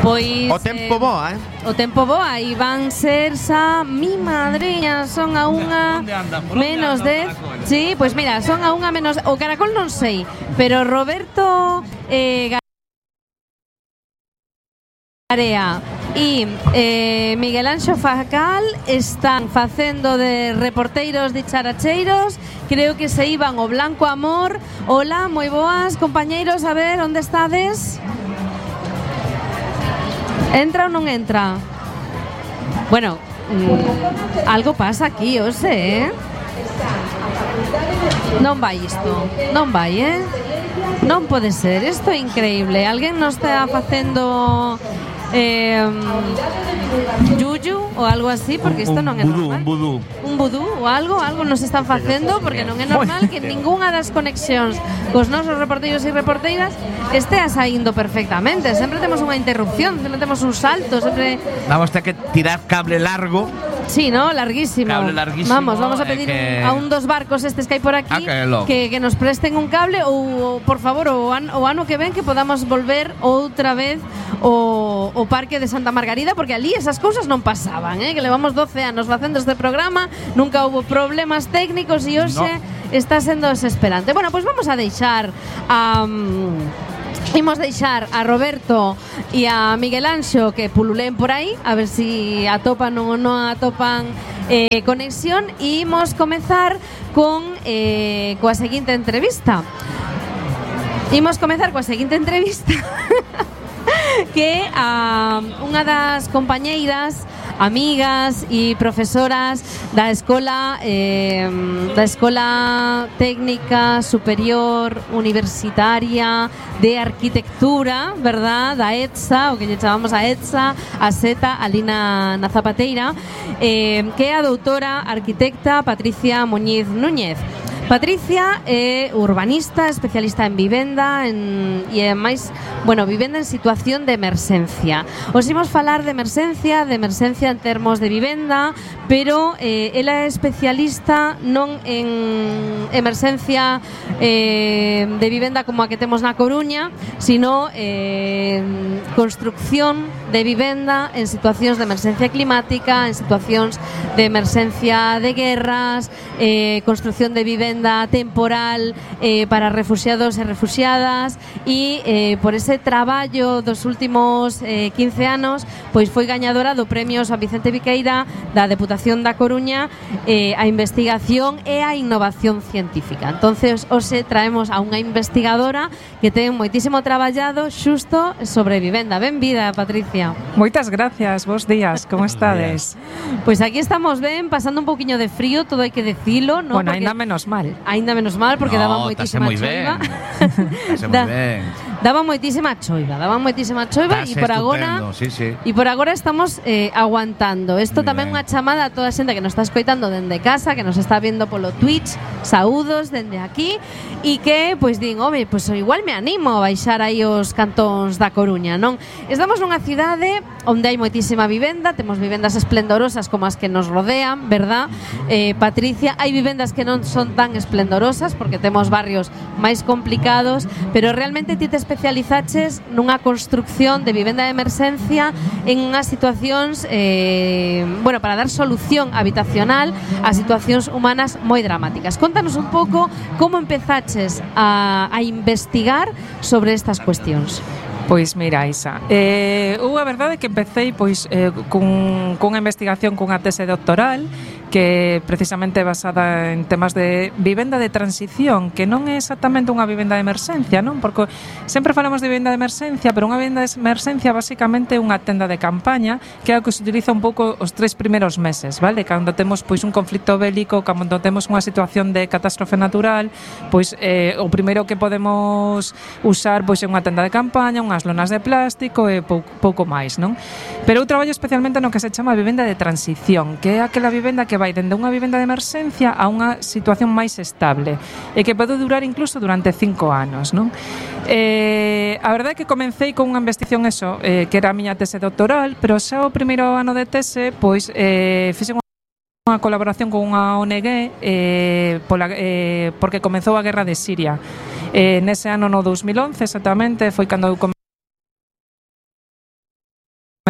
Pois o tempo boa, o tempo boa, e van ser xa mi madriña, son a unha menos 10. Sí, pois mira, son a unha menos, o caracol non sei, pero Roberto Garea e Miguel Anxo Facal están facendo de reporteiros dicharacheiros. Creo que se iban o Blanco Amor. Hola, moi boas, compañeiros, a ver, onde estades? Entra ou non entra? Bueno, algo pasa aquí, o sé, Non vai isto, non vai, Non pode ser, isto é increíble. Alguén nos está facendo yuyu ou algo así, porque isto non é normal. Un vudú ou algo nos están facendo, porque non é normal que ningunha das conexións cos nosos reporteiros e reporteiras estea saindo perfectamente. Sempre temos unha interrupción, sempre temos un salto, sempre vamos a ter que tirar cable largo. Sí, ¿no? Larguísimo. Cable larguísimo. Vamos a pedir a un dos barcos estes que hai por aquí que nos presten un cable ou, por favor, o ano que ven que podamos volver outra vez o Parque de Santa Margarida, porque ali esas cousas non pasaban, que levamos 12 anos facendo este programa, nunca houve problemas técnicos e hoxe está sendo desesperante. Bueno, pois vamos a deixar Imos deixar a Roberto e a Miguel Anxo que pululen por aí, a ver si atopan ou non atopan conexión, e imos comezar coa seguinte entrevista. Que unha das compañeiras, amigas e profesoras da Escola Técnica Superior Universitaria de Arquitectura, verdad? Da ETSA, o que lle chamamos a ETSA, a SETA, ali na Zapateira, que é a doutora arquitecta Patricia Muñiz Núñez. Patricia é urbanista, especialista en vivenda e máis, vivenda en situación de emerxencia. Os imos falar de emerxencia en termos de vivenda, pero ela é especialista non en emerxencia de vivenda como a que temos na Coruña, sino construcción de vivenda en situacións de emerxencia climática, en situacións de emerxencia de guerras, construcción de vivenda temporal para refugiados e refugiadas, e por ese traballo dos últimos 15 anos pois foi gañadora do Premio San Vicente Viqueira da Deputación da Coruña a investigación e a innovación científica. Entonces hoxe traemos a unha investigadora que ten moitísimo traballado xusto sobre vivenda. Benvida, Patricia. Moitas gracias, bos días, como estades? Pois aquí estamos ben, pasando un poquinho de frío, todo hai que decilo, ¿no? Bueno, ainda menos mal. Ainda menos mal, porque daba moitísima choiva. Daba moitísima choiva e por agora e por agora estamos aguantando. Isto tamén unha chamada a toda a xente que nos está escoitando dende casa, que nos está vendo polo Twitch. Saúdos dende aquí, e que pois din, pois igual me animo a baixar aí os cantóns da Coruña, non? Estamos nunha cidade onde hai moitísima vivenda, temos vivendas esplendorosas como as que nos rodean, verdad? Patricia, hai vivendas que non son tan esplendorosas porque temos barrios máis complicados, pero realmente ti te especializaches nunha construcción de vivenda de emerxencia en unhas situacións para dar solución habitacional a situacións humanas moi dramáticas. Contanos un pouco como empezaches a investigar sobre estas cuestións. Pois mira, Isa, a verdade é que empecé cunha investigación cunha tese doctoral que precisamente basada en temas de vivenda de transición, que non é exactamente unha vivenda de emerxencia, non? Porque sempre falamos de vivenda de emerxencia, pero unha vivenda de emerxencia basicamente é unha tenda de campaña, que é o que se utiliza un pouco os 3 primeiros meses, vale? Cando temos un conflito bélico, cando temos unha situación de catástrofe natural, o primeiro que podemos usar é unha tenda de campaña, unhas lonas de plástico e pouco máis, non? Pero eu traballo especialmente no que se chama vivenda de transición, que é aquela vivenda que vai dende unha vivenda de emerxencia a unha situación máis estable e que pode durar incluso durante 5 anos, non? A verdade é que comecei con unha investigación que era a miña tese doctoral, pero xa o primeiro ano de tese fixen unha colaboración con unha ONG porque comezou a guerra de Siria. Nese ano no 2011 exactamente foi cando eu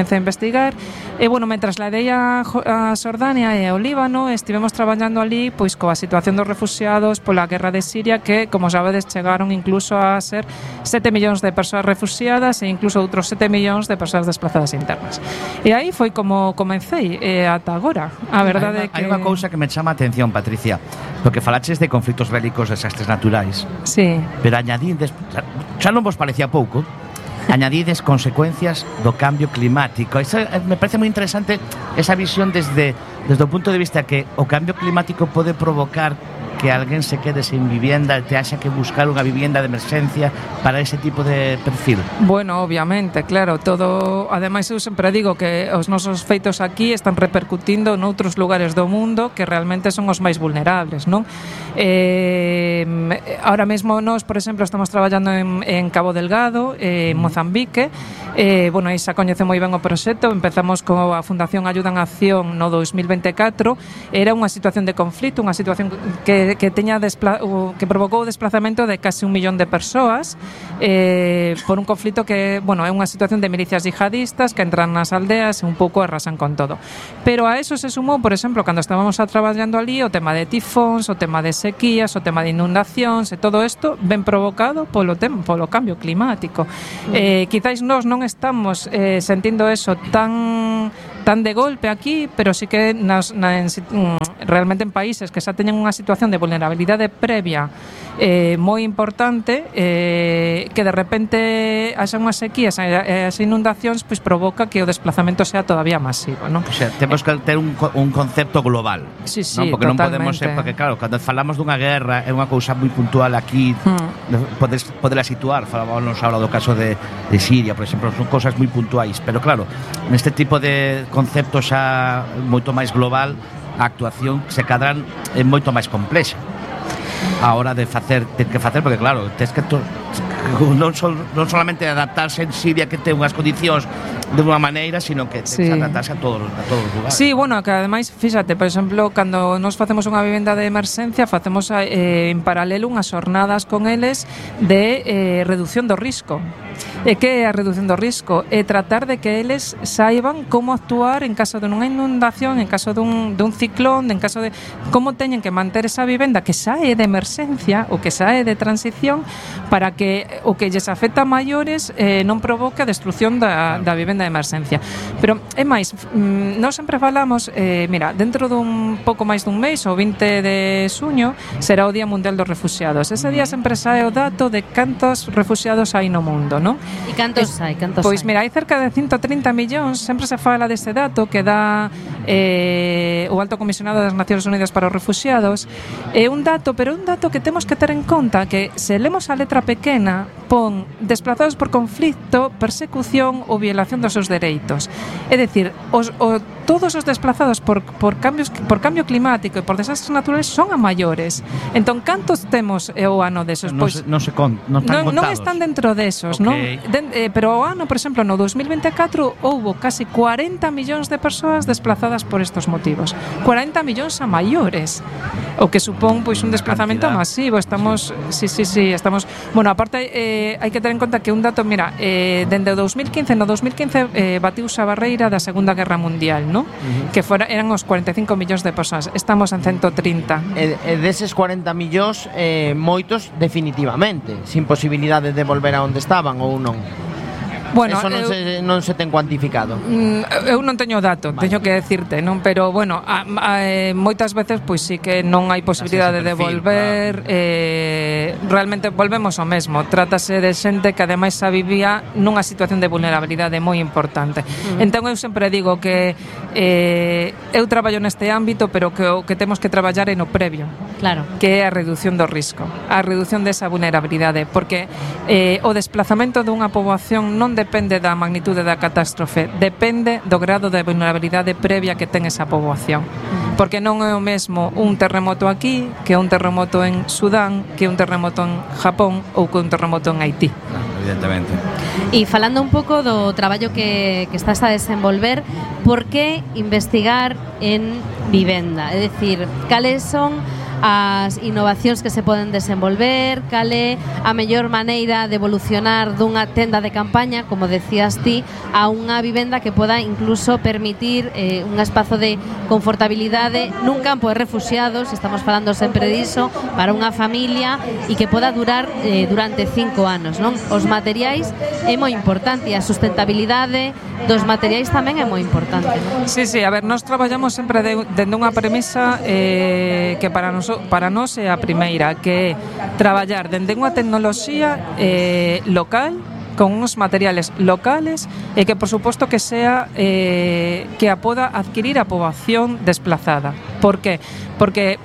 comecei a investigar e, bueno, me trasladei a Xordania e ao Líbano e estivemos traballando ali pois coa situación dos refugiados pola guerra de Siria que, como sabedes, chegaron incluso a ser 7 millóns de persoas refugiadas e incluso outros 7 millóns de persoas desplazadas internas. E aí foi como comecei ata agora. A verdade é que... Hai unha cousa que me chama a atención, Patricia, porque falaches de conflitos bélicos, desastres naturais. Sí. Pero añadides, xa non vos parecía pouco, añadides consecuencias do cambio climático. Eso me parece moi interesante, esa visión desde o punto de vista que o cambio climático pode provocar que alguén se quede sin vivienda e te haxa que buscar unha vivienda de emerxencia para ese tipo de perfil. Bueno, obviamente, claro, todo, ademais eu sempre digo que os nosos feitos aquí están repercutindo noutros lugares do mundo que realmente son os máis vulnerables, non? Ahora mesmo nós, por exemplo, estamos traballando en Cabo Delgado, en Mozambique. Bueno, aí xa coñece moi ben o proxecto. Empezamos coa Fundación Ayuda en Acción no 2024. Era unha situación de conflito, unha situación que provocou o desplazamento de casi 1 millón de persoas por un conflito que, bueno, é unha situación de milicias yihadistas que entran nas aldeas e un pouco arrasan con todo. Pero a eso se sumou, por exemplo, cando estábamos traballando ali, o tema de tifóns, o tema de sequías, o tema de inundacións e todo isto ben provocado polo cambio climático. Quizáis nós non estamos sentindo eso tan de golpe aquí, pero sí que realmente en países que xa teñen unha situación de vulnerabilidade previa moi importante, que de repente haxa unhas sequías e as inundacións, pois provoca que o desplazamento sea todavía masivo, non? O sea, temos que ter un concepto global, sí, non? Porque totalmente. Non podemos ser, porque claro, cando falamos dunha guerra é unha cousa moi puntual aquí, poderla situar, falábamos ahora do caso de Siria, por exemplo, son cousas moi puntuais, pero claro, neste tipo de concepto xa moito máis global, a actuación se cadran é moito máis complexa a hora de facer, porque claro, tes que non solamente adaptarse en Siria, que ten unhas condicións de unha maneira, sino que tens que adaptarse a todos os lugares. Sí, bueno, que ademais, fíxate, por exemplo, cando nos facemos unha vivenda de emerxencia, facemos en paralelo unhas xornadas con eles de reducción do risco. E que é a reducción do risco? É tratar de que eles saiban como actuar en caso de unha inundación, en caso dun ciclón, en caso de como teñen que manter esa vivenda que xa é de emerxencia ou que xa é de transición, para que o que lles afecta a maiores non provoque a destrucción da vivenda de emerxencia. Pero é máis, nós sempre falamos, mira, dentro dun pouco máis dun mês, o 20 de xuño, será o Día Mundial dos Refuxiados. Ese día sempre sae o dato de cantos refuxiados hai no mundo, non? E cantos hai? Pois mira, hai cerca de 130 millóns, sempre se fala dese dato que dá o Alto Comisionado das Nacións Unidas para os Refuxiados. É un dato, pero é un dato que temos que ter en conta, que se lemos a letra pequena, pon desplazados por conflicto, persecución ou violación dos seus dereitos. É dicir, todos os desplazados por cambio climático e por desastres naturales son a maiores. Entón, cantos temos o ano desos? Pois non están dentro desos, okay. Non? Pero o ano, por exemplo, no 2024 houbo casi 40 millóns de persoas desplazadas por estos motivos. 40 millóns a maiores, o que supón pois un desplazamento masivo. Estamos, estamos, bueno, aparte hai que ter en conta que un dato, mira, dende o 2015, no 2015 batiuse a barreira da Segunda Guerra Mundial, ¿no? Que eran os 45 millóns de persoas. Estamos en 130. E deses 40 millóns, moitos definitivamente, sin posibilidade de volver a onde estaban ou non. Bueno, eso non se ten cuantificado. Eu non teño dato, teño que decirte, non, pero bueno, moitas veces pois sí que non hai posibilidade de volver, claro. Realmente volvemos ao mesmo. Trátase de xente que ademais xa vivía nunha situación de vulnerabilidade moi importante. Entón eu sempre digo que eu traballo neste ámbito, pero que o que temos que traballar é no previo. Claro. Que é a reducción do risco, a reducción desa vulnerabilidade, porque o desplazamento dunha poboación non depende da magnitude da catástrofe, depende do grado de vulnerabilidade previa que ten esa poboación. Porque non é o mesmo un terremoto aquí que un terremoto en Sudán, que un terremoto en Japón ou que un terremoto en Haití. Evidentemente. E falando un pouco do traballo que estás a desenvolver, por que investigar en vivenda? É dicir, cales son as innovacións que se poden desenvolver, cal é a mellor maneira de evolucionar dunha tenda de campaña, como decías ti, a unha vivenda que poda incluso permitir un espazo de confortabilidade nun campo de refuxiados, estamos falando sempre diso, para unha familia e que poda durar durante 5 anos, non? Os materiais é moi importante e a sustentabilidade dos materiais tamén é moi importante, non? Sí, a ver, nós traballamos sempre dende unha premisa que para nós é a primeira, que é traballar dende unha tecnoloxía local, con uns materiales locales e que, por suposto, que sea que a poda adquirir a poboación desplazada. Por que? Porque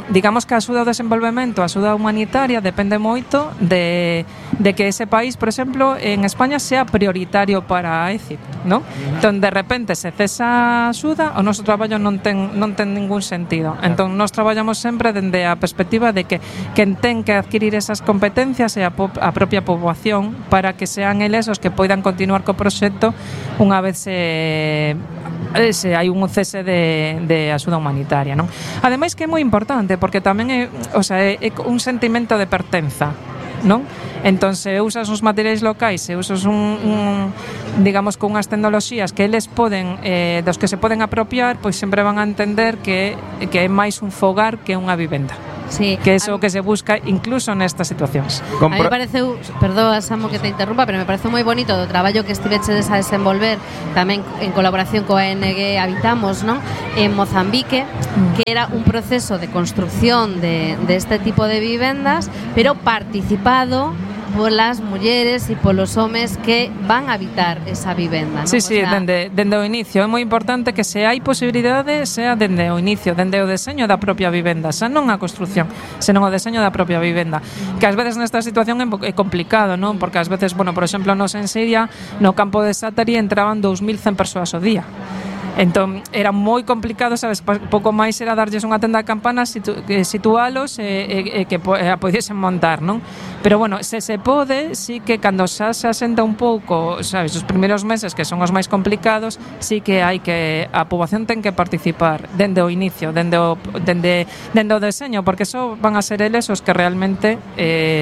digamos que a axuda ao desenvolvemento, a axuda humanitaria depende moito de que ese país, por exemplo, en España sea prioritario para a ECIP, ¿no? Entón, de repente se cesa a axuda, o noso traballo non ten ningún sentido. Entón, nós traballamos sempre dende a perspectiva de que quen ten que adquirir esas competencias é a propia poboación, para que sean eles os que poidan continuar co proxecto unha vez se hai un cese de axuda humanitaria, non? Ademais que é moi importante porque tamén é un sentimento de pertenza, non? Entón, se usas uns materiais locais, se usas digamos, con unhas tecnoloxías que eles poden dos que se poden apropiar, pois sempre van a entender que é máis un fogar que unha vivenda. Sí. Que é o que se busca incluso nestas situacións. A mí me pareceu, perdoa, Samu, que te interrumpa, pero me pareceu moi bonito do traballo que estivechedes a desenvolver tamén en colaboración coa ONG Habitamos, non? En Mozambique, que era un proceso de construcción de este tipo de vivendas, pero participado polas mulleres e polos homes que van a habitar esa vivenda, non? Sí, dende o inicio. É moi importante que se hai posibilidade sea dende o inicio, dende o deseño da propia vivenda, xa non a construción, senón o deseño da propia vivenda, que ás veces nesta situación é complicado, non? Porque ás veces, por exemplo, nos en Siria, no campo de Satari entraban 2100 persoas ao día. Entón, era moi complicado, sabes, pouco máis era darlles unha tenda de campanas, situalos e que a podiesen montar, non? Pero bueno, se pode, sí que cando xa se asenta un pouco, sabes, os primeiros meses que son os máis complicados, sí que hai que a poboación ten que participar dende o inicio, dende o deseño, porque só van a ser eles os que realmente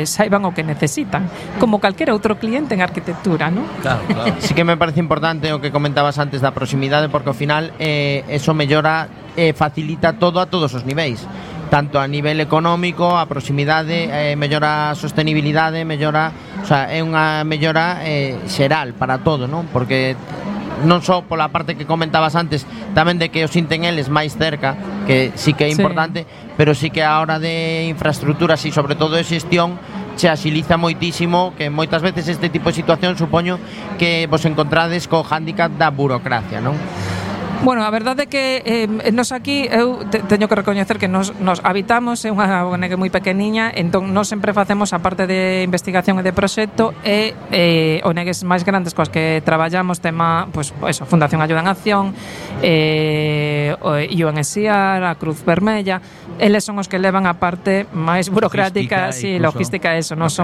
saiban o que necesitan, como calquera outro cliente en arquitectura, non? Claro. Sí que me parece importante o que comentabas antes da proximidade, porque ao final eso mellora facilita todo a todos os niveis, tanto a nivel económico, a proximidade, mellora a sostenibilidade, mellora, o sea, é unha mellora xeral para todo, non? Porque non só pola parte que comentabas antes, tamén de que o sinten eles máis cerca, que sí que é importante, pero sí que a hora de infraestructuras e sobre todo de xestión se axiliza moitísimo, que moitas veces este tipo de situación supoño que vos encontrades co hándicap da burocracia, non? Bueno, a verdade é que nos aquí eu teño que recoñecer que nos Habitamos, é unha ONG moi pequeniña, entón nos sempre facemos a parte de investigación e de proxecto e ONGs máis grandes coas que traballamos, tema, pois eso, Fundación Ayuda en Acción, UNHCR, a Cruz Vermella, eles son os que levan a parte máis burocrática, logística, eso. Nos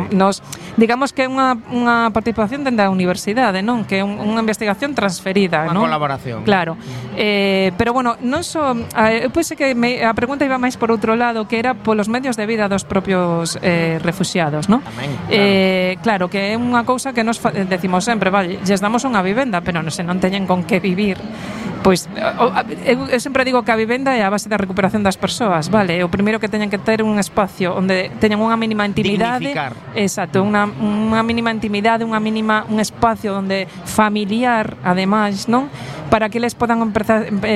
digamos que é unha participación dende a universidade, non? Que é unha investigación transferida, non? Unha colaboración. Claro. Pero bueno, non só eu pensei que a pregunta iba máis por outro lado, que era polos medios de vida dos propios refuxiados, non? Tamén, claro, que é unha cousa que nos decimos sempre, vale, lles damos unha vivenda, pero se non teñen con que vivir, pois eu sempre digo que a vivenda é a base da recuperación das persoas, vale? O primeiro que teñen que ter un espacio onde teñan unha mínima intimidade, exacto, unha mínima intimidade, un espacio onde familiar, ademais, non? Para que eles podan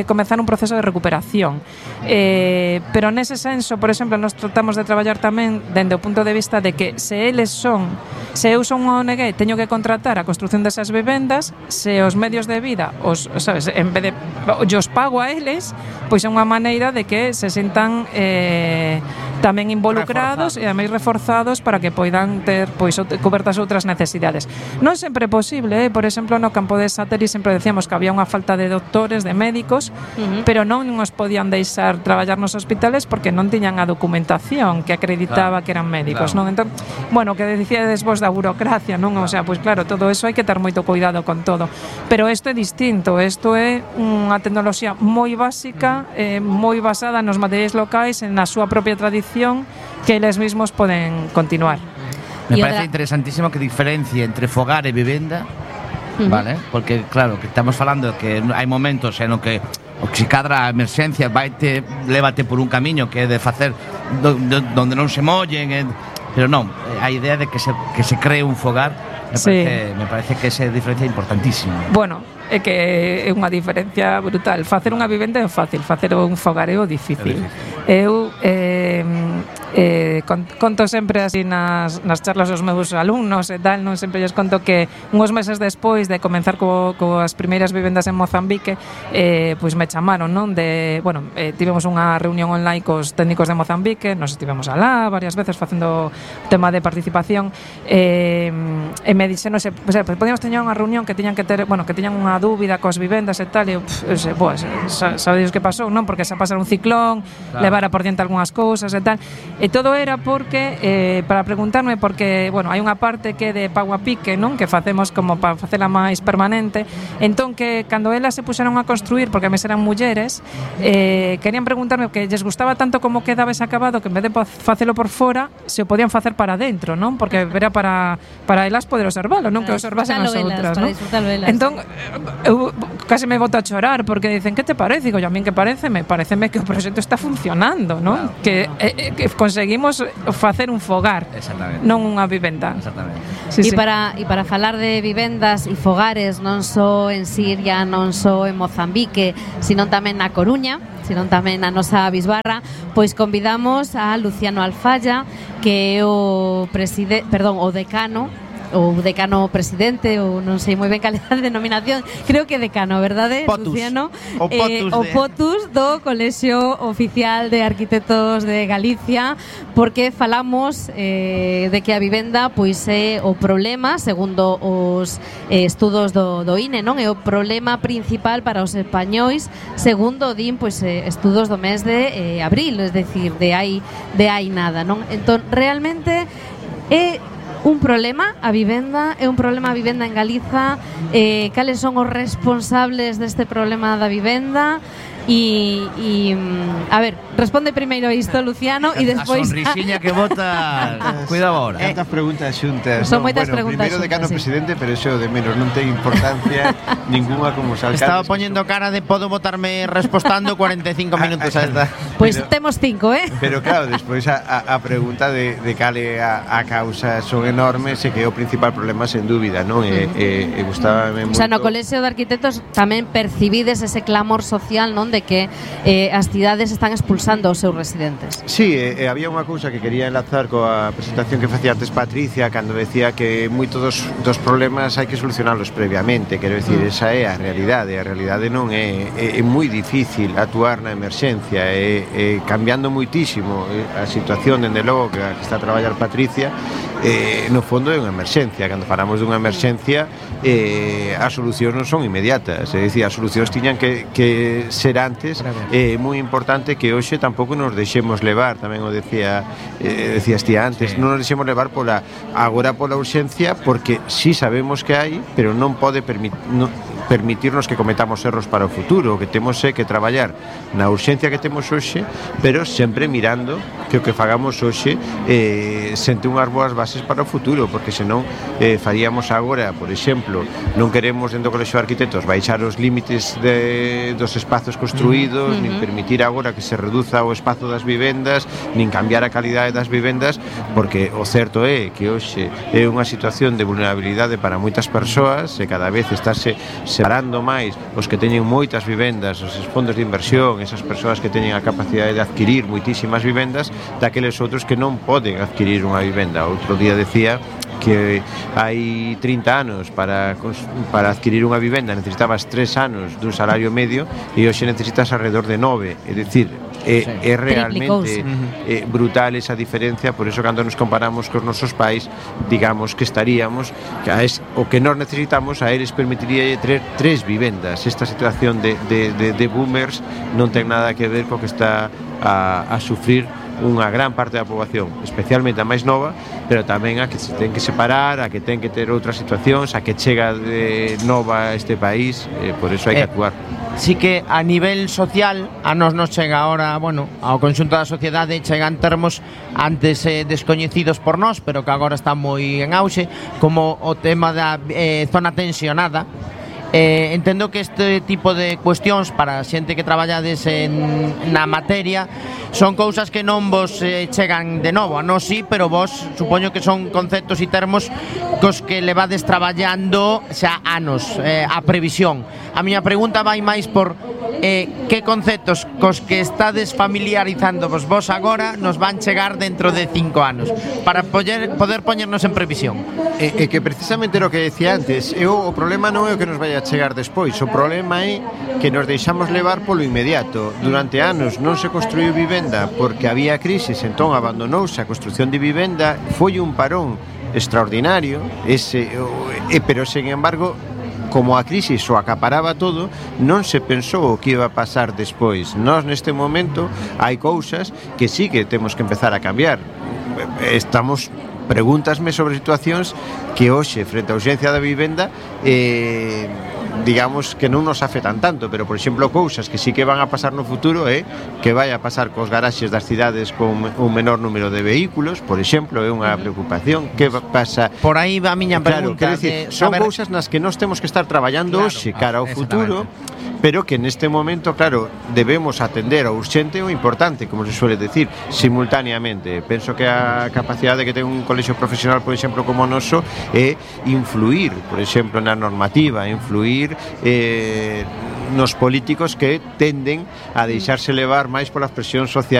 comezar un proceso de recuperación. Pero nese senso, por exemplo, nós tratamos de traballar tamén dende o punto de vista de que se eu son unha ONG, teño que contratar a construción desas vivendas, se os medios de vida sabes, en vez de os pago a eles, pois é unha maneira de que se sintan tamén involucrados e ademais reforzados para que poidan ter pois cobertas outras necesidades. Non sempre é posible, por exemplo, no campo de Sateri sempre decíamos que había unha falta de doctores, de médicos, pero non nos podían deixar traballar nos hospitales porque non tiñan a documentación que acreditaba que eran médicos, non? Entón, bueno, que dicíades vos da burocracia, non? O sea, pois claro, todo eso hai que ter moito cuidado con todo. Pero isto é distinto, isto é unha tecnoloxía moi básica, moi basada nos materiais locais, na súa propia tradición que eles mesmos poden continuar. Me parece interesantísimo que diferencie entre fogar e vivenda, vale? Porque claro, que estamos falando que hai momentos en que se cadra a emerxencia lévate por un camiño que é de facer donde non se mollen, pero non, a idea de que se cree un fogar me parece que esa diferencia é importantísima. Bueno, é que é unha diferencia brutal. Facer unha vivenda é fácil, facer un fogar é o difícil. Eu conto sempre así nas charlas aos meus alumnos e tal, non sempre lles conto que uns meses despois de comenzar coas primeiras vivendas en Mozambique, pois me chamaron, non? Tivemos unha reunión online cos técnicos de Mozambique, nos estivemos alá varias veces facendo tema de participación, e me dixeron, podíamos teñer unha reunión que tiñan que ter, que tiñan unha dúbida coas vivendas e tal, e eu, sabedes que pasou, non? Porque xa pasara un ciclón, levara por diante algunhas cousas e tal, e todo era porque, para preguntarme, porque, hai unha parte que é de pago a pique, non? Que facemos como para facela máis permanente, entón que cando elas se puxeron a construir, porque a mes eran mulleres, querían preguntarme que lles gustaba tanto como quedaba ese acabado, que en vez de facelo por fora, se o podían facer para dentro, non? Porque era para elas poder observalo, non? Que observasen as outras, non? Entón, eu case me boto a chorar porque dicen, que te parece? Digo, a min que pareceme que o proxecto está funcionando, non? Que conseguimos facer un fogar, non unha vivenda. Exactamente. E para falar de vivendas e fogares non só en Siria, non só en Mozambique, sino tamén na Coruña, sino tamén na nosa bisbarra, pois convidamos a Luciano Alfaya, que é o decano presidente, ou non sei moi ben cal é a denominación, creo que decano, verdade, Potus. Luciano? O Potus do Colexio Oficial de Arquitectos de Galicia, porque falamos de que a vivenda pois é o problema, segundo os estudos do INE, non? É o problema principal para os españois, segundo din pois estudos do mes de abril, es decir, de hai nada, non? Entón, realmente é un problema a vivenda en Galiza, cales son os responsables deste problema da vivenda e a ver, responde primeiro isto, Luciano, e despois a sonrisiña que bota. Cuidado ahora. Tantas preguntas xuntas. Son moitas preguntas primeiro decano presidente, pero eso de menos non ten importancia ninguna como os alcaldes. Estaba poñendo cara de podo botarme respostando 45 minutos a esta. Pois temos 5, Pero claro, despois a pregunta de cale a causa son enormes e que é o principal problema sen dúbida, non? E gustábame moito. O sea, no Colexio de Arquitectos tamén percibides ese clamor social, non? De que as cidades están expulsando os seus residentes. Sí, había unha cousa que quería enlazar coa presentación que facía antes Patricia, cando decía que moitos dos problemas hai que solucionalos previamente. Quero dicir, esa é a realidade. A realidade non é moi difícil actuar na emerxencia, cambiando moitísimo a situación, dende logo que está a traballar Patricia, no fondo é unha emerxencia. Cando falamos dunha emerxencia, as solucións non son inmediatas, é dicir, as solucións tiñan que ser antes. É moi importante que hoxe tampouco nos deixemos levar, tamén o decías ti antes, non nos deixemos levar agora pola urxencia, porque si sabemos que hai, pero non pode permitirnos que cometamos erros para o futuro. O que temos é que traballar na urxencia que temos hoxe, pero sempre mirando que o que fagamos hoxe sente unhas boas bases para o futuro, porque senón faríamos agora, por exemplo, non queremos dentro do Colexio de Arquitectos baixar os límites dos espazos construídos, nin permitir agora que se reduza o espazo das vivendas, nin cambiar a calidade das vivendas, porque o certo é que hoxe é unha situación de vulnerabilidade para moitas persoas e cada vez estáse separando máis os que teñen moitas vivendas, os fondos de inversión, esas persoas que teñen a capacidade de adquirir moitísimas vivendas, daqueles outros que non poden adquirir unha vivenda. Outro día decía que hai 30 anos para adquirir unha vivenda necesitabas 3 anos dun salario medio e hoxe necesitas alrededor de 9, é dicir, é realmente brutal esa diferencia. Por eso cando nos comparamos cos nosos pais, digamos que estaríamos o que nós necesitamos a eles permitiría ter 3 vivendas. Esta situación de boomers non ten nada que ver co que está a sufrir unha gran parte da poboación, especialmente a máis nova, pero tamén a que se ten que separar, a que ten que ter outras situacións, a que chega de nova a este país, por eso hai que actuar. Sí que a nivel social a nos chega ahora, bueno, ao conxunto da sociedade chegan termos antes descoñecidos por nós, pero que agora están moi en auxe, como o tema da zona tensionada. Entendo que este tipo de cuestións para a xente que traballades na materia son cousas que non vos chegan de novo. A nós sí, pero vos supoño que son conceptos e termos cos que levades traballando xa anos, a previsión. A miña pregunta vai máis por que conceptos cos que estades familiarizándoos vos agora nos van chegar dentro de 5 anos para poder poñernos en previsión. Que precisamente era o que decía antes, o problema non é o que nos vai a chegar despois, o problema é que nos deixamos levar polo inmediato. Durante anos non se construiu vivenda porque había crisis, entón abandonouse a construción de vivenda, foi un parón extraordinario, pero sen embargo, como a crisis o acaparaba todo, non se pensou o que iba a pasar despois. Nós neste momento hai cousas que sí que temos que empezar a cambiar. Pregúntasme sobre situacións que hoxe, frente á ausencia da vivenda, digamos que non nos afectan tanto, pero por exemplo cousas que sí que van a pasar no futuro que vai a pasar cos garaxes das cidades con un menor número de vehículos, por exemplo, é unha preocupación. Que pasa? Por aí va a miña pregunta. Son cousas nas que nós temos que estar traballando hoxe cara ao futuro, pero que neste momento, claro, debemos atender ao urxente e o importante, como se suele decir, simultaneamente. Penso que a capacidade que ten un colexio profesional, por exemplo, como o noso, é influir, por exemplo, na normativa, influir nos políticos que tenden a deixarse levar máis polas presións sociais